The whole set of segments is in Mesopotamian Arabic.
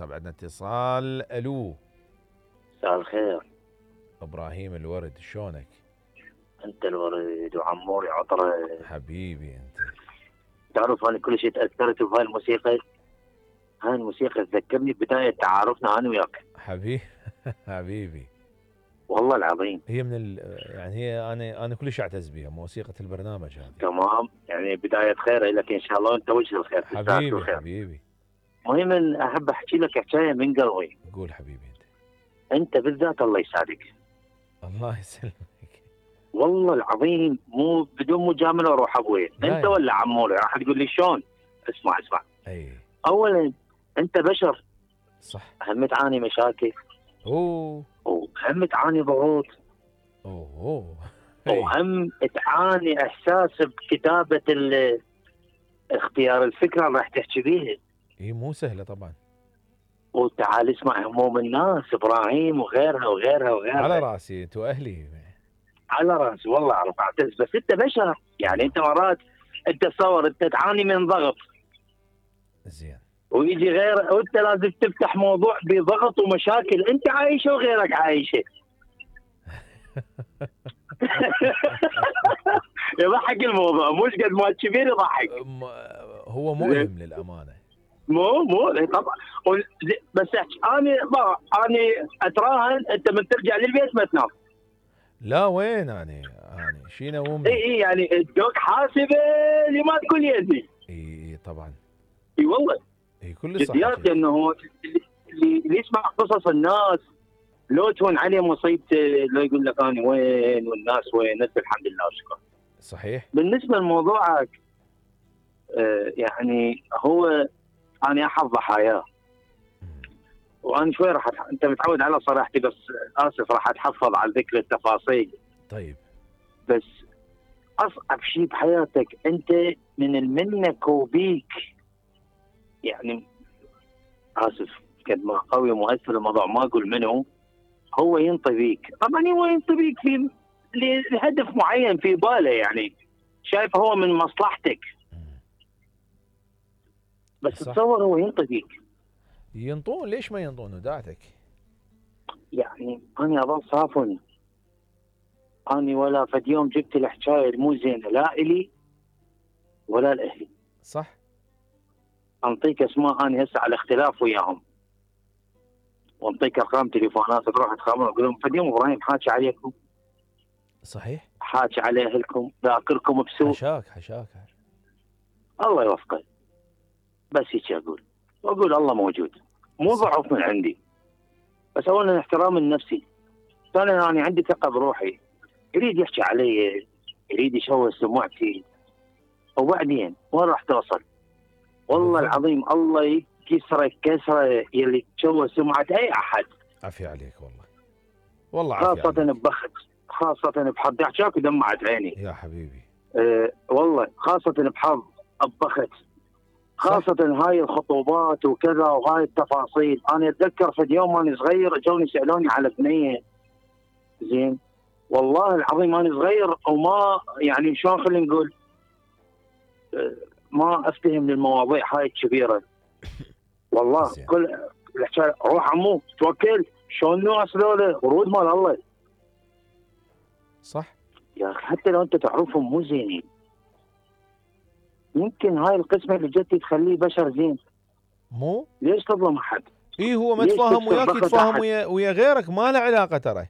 الواتساب. عندنا اتصال. الو. مساء الخير. ابراهيم الورد، شلونك؟ انت الورد وعموري عطره. حبيبي انت. تعرف انا كل شيء تاثرت بهاي الموسيقى. هاي الموسيقى تذكرني بدايه تعارفنا انا وياك. حبيبي حبيبي. والله العظيم. هي من يعني هي انا كلش اعتز بها، موسيقى البرنامج هذه. تمام، يعني بدايه خير لك ان شاء الله، وانت وجه الخير. حبيبي الخير. حبيبي. مهم احب احكي لك حكايه من قلبي. قول حبيبي انت. انت بالذات الله يسعدك. الله يسلمك. والله العظيم مو بدون مجامله واروح ابوي. انت ولا عموري راح تقول لي شلون؟ اسمع. اي. اولا انت بشر. صح. هم تعاني مشاكل. وهم تعاني ضغوط. وهم تعاني احساس بكتابه اختيار الفكره اللي راح تحكي بيها. اي مو سهله طبعا. وتعال اسمع هموم الناس، ابراهيم وغيرها. على راسي، انتوا اهلي. على راسي والله اعرف اعتز، بس انت بشر. يعني انت مرات انت تصور انت تعاني من ضغط. زين. ويجي غير، وانت لازم تفتح موضوع بضغط ومشاكل انت عايشه وغيرك عايشه. يضحك الموضوع، مش قد ما كبير يضحك. هو مؤلم للامانه. مو طبعا. بس انا اتراهن انت من ترجع للبيت ما تنام. لا وين انا شي نومني. اي يعني الدوق حاسبه لما تقول يدي. اي طبعا. اي والله. اي كل صح. جديات انه اللي يسمع قصص الناس لو تهون عليه مصيبته، لو يقول لك انا وين والناس وين، انت الحمد لله وشكرا. صحيح. بالنسبه لموضوعك يعني هو انا احد ضحاياه. وانا شوي انت متعود على صراحتي، بس اسف راح اتحفظ على ذكر التفاصيل. طيب. بس اصعب شيء بحياتك انت من منك وبيك، يعني اسف قد ما قوي مؤثر الموضوع ما اقول منه، هو ينطي بيك. طبعا هو ينطي بيك في لهدف معين في باله، يعني شايف هو من مصلحتك. بس تصور هو ينطي بيك. ينطون، ليش ما ينطون وداعتك؟ يعني انا اظل صافن. اني ولا فد يوم جبت الحكايه مو زينه لا الي ولا لاهلي. صح. انطيك اسماء اني هسه على اختلاف وياهم، وانطيك ارقام تليفونات تروح تخابرهم اقول لهم فد يوم ابراهيم حاكي عليكم. صحيح. حاكي على اهلكم، ذاكركم بسوء. حشاك. الله يوفقه. بس هيك واقول الله موجود، مو ضعف من عندي، بس اولا احترام النفسي. ثانيا انا عندي ثقه بروحي. يريد يحكي علي، يريد يشوه سمعتي، وبعدين وين راح توصل؟ والله العظيم الله يكسرك كسره يلي تشوه سمعه اي احد. عافيه عليك والله عافيه خاصه عليك. ببخت، خاصه بحظ. احكاك ودمعت عيني يا حبيبي. والله خاصه بحظ ببخت، خاصة هاي الخطوبات وكذا وهاي التفاصيل. أنا أتذكر في يوم أنا صغير جوني سألوني على بنية. زين والله العظيم أنا صغير وما يعني شلون خلينا نقول ما أفتهم للمواضيع هاي الكبيرة. والله كل الحكاية روح عمو توكل شلون الناس ذولا ورود مال الله. صح يا أخي حتى لو أنت تعرفهم مو زينين، يمكن هاي القسمة اللي جت تخليه بشر زين. مو ليش تظلم أحد؟ هو ما تفاهم وياك يتفاهم ويا غيرك، ما له علاقة ترى.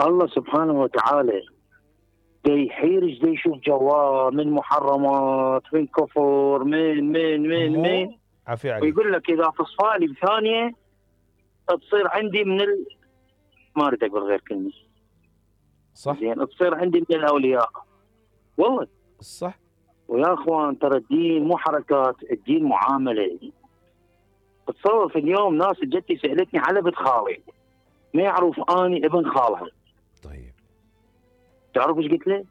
الله سبحانه وتعالى دي يحيرج دي يشوف جواه من محرمات من كفر من عافية عليك. ويقول لك إذا فصفالي بثانية تصير عندي من ما أريد أقول غير كلمة. صح. زين تصير عندي من الأولياء. والله صح. ويا اخوان ترى الدين مو حركات، الدين معامله. تصور في اليوم ناس جتي سالتني على بنت خالي ما يعرف اني ابن خالها. طيب تعرف ايش قلت له؟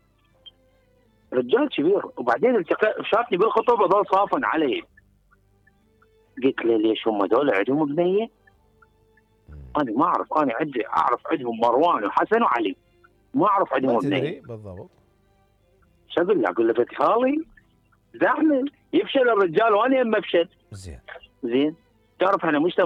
رجال كبير، وبعدين شافني بالخطوبه ظل صافن علي. قلت له ليش هم دول عندهم بنيه؟ انا ما اعرف، انا عندي اعرف عندهم مروان وحسن وعلي، ما اعرف عندهم بنيه. بالضبط. شو اقول له؟ اقول له بنت خالي زحمه يفشل الرجال وانا يم افشل. زين تعرف احنا مجتمع